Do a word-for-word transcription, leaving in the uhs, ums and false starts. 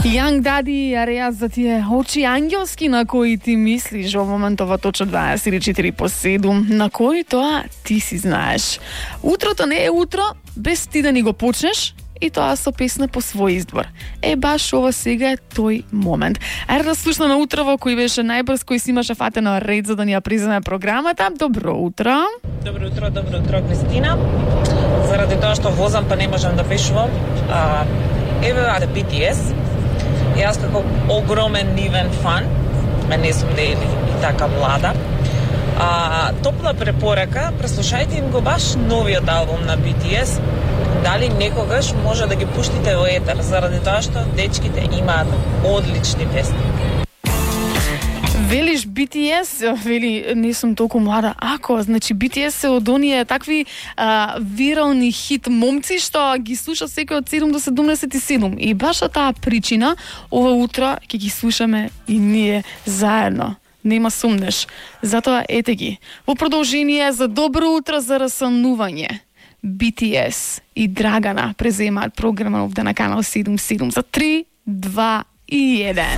Young Daddy, ареа за тие очи ангелски на кои ти мислиш во моментова точно дваесет и четири по седум, на кои тоа ти си знаеш. Утрото не е утро без ти да ни го почнеш, и тоа со песна по свој избор. Е, баш ова сега е тој момент. Ајде да слушнеме утрово кој беше најбрз, кој си имаше фатено ред за да ни ја преземе програмата. Добро утро. Добро утро, добро утро, Кристина. Заради тоа што возам па не можам да пишувам, а, еве аде би ти ес. Јас како огромен нивен фан, ме не сум дели и така млада. А, топла препорака, преслушајте им го баш новиот албум на би ти ес. Дали некогаш може да ги пуштите во етер, заради тоа што дечките имаат одлични песни. Велиш би ти ес, вели не сум толку млада. Ако, значи би ти ес се од оние такви а, вирални хит момци што ги слуша секој од седум до седумдесет и седум. И баш од таа причина ова утро ќе ги слушаме и ние заедно. Нема сумнеш. Затоа ете ги. Во продолжение за добро утро за расанување. би ти ес и Драгана преземаат програма овде на канал седум седум за три, два и еден.